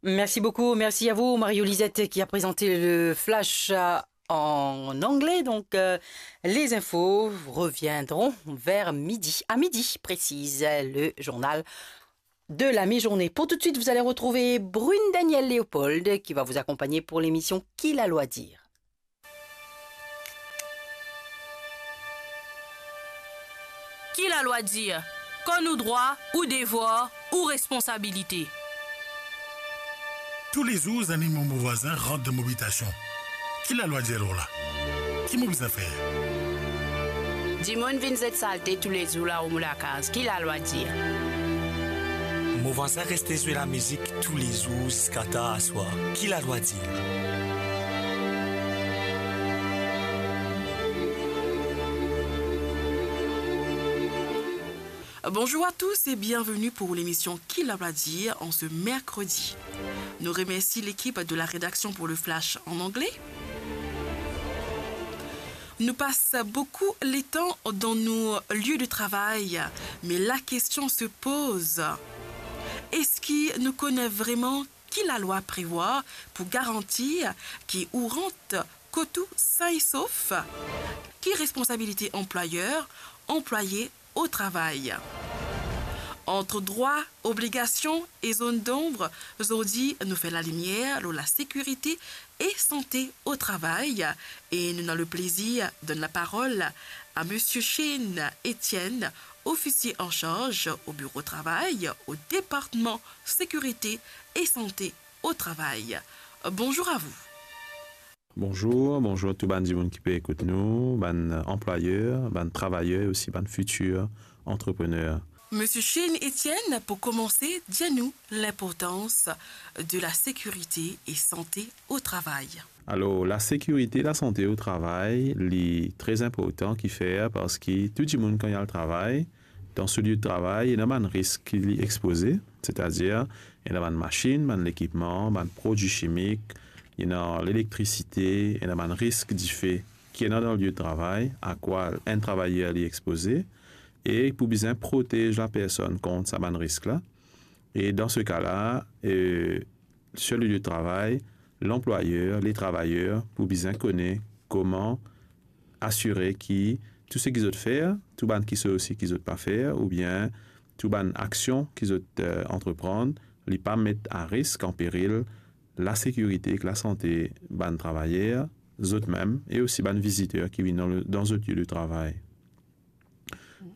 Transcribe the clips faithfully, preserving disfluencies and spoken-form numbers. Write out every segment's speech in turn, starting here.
Merci beaucoup, merci à vous, Mario Lisette, qui a présenté le flash, euh, en anglais. Donc, euh, les infos reviendront vers midi. À midi, précise, le journal de la mi-journée. Pour tout de suite, vous allez retrouver Brune Daniel Léopold, qui va vous accompagner pour l'émission Ki lalwa dir. Ki lalwa dir? Kan ou drwa, ou devwar, ou responsabilite. Toulezour, zanimo mo vwazin rant dan mo abitasion. Ki lalwa dir lor la? Ki mo bizin fer? Dimoun vinn zet salte toulezour laor mo lakaz. Ki lalwa dir? Mo vwazin reste zwe lamizik toulezour ziska tar aswar. Ki lalwa dir? Bonjour à tous et bienvenue pour l'émission Ki lalwa dir en ce mercredi. Nous remercions l'équipe de la rédaction pour le flash en anglais. Nous passons beaucoup de temps dans nos lieux de travail, mais la question se pose, est-ce que nous connaissons vraiment ki lalwa prevwar pou garantir ki ou rant kot ou sin e sof? Ki responsabilite anplwayer, anplwaye o travay? Ant drwa, obligasion e zone d'ombre, zordi nou fer lalimier lor lasekirite e sante o travay e nou ena leplezir donn laparol a Misie Shane Etienne, ofisie an sarz o biro travay o departman sekirite e sante o travay. Bonjour à vous. Bonjour, bonjour tou bann dimoun ki pe ekout nou, bann anplwayer, bann travayer e osi bann fitir antreprener. Misie Shane Etienne, pou komanse, dir nou linportans de lasekirite e sante o travay. Alor, lasekirite, lasante o travay, li tre inportan, kifer, parski tou dimoun kan li al travay, dan so lie de travay, ena bann risk ki li expoze, setadir, ena bann masinn, bann lekipman, bann prodwi simik, ena lelektrisite, ena bann risk dife ki ena dan lie de travay, a kwa enn travayer li expoze, e pou bizin protez lapersonn kont sa bann risk la. E dan se ka la, e, sur le lieu de travail, lanplwayer, le travayer pou bizin kone kouma asire ki tou seki zot fer, tou bann kisoz osi ki zot pa fer, oubien tou bann aksion ki zot, eh, antreprann, li pa met a risk, an peril, lasekirite ek lasante bann travayer, zot mem, e osi bann viziter ki vinn dan le, dan zot lie de travay.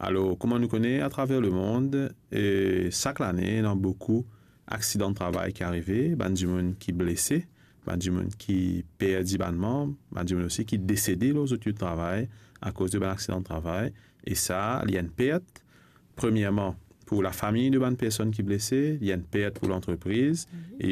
Alor, kouma nou kone, atraver lemond, eh, sak lane, ena boukou aksidan travay ki arive, bann dimoun ki blese, bann dimoun ki perdi bann manb, bann dimoun osi ki desede lor zot lie de travay akoz de bann aksidan travay. E sa, li enn pert, premierman, pou lafami de bann personn ki blese, li enn pert pou lantrepriz, e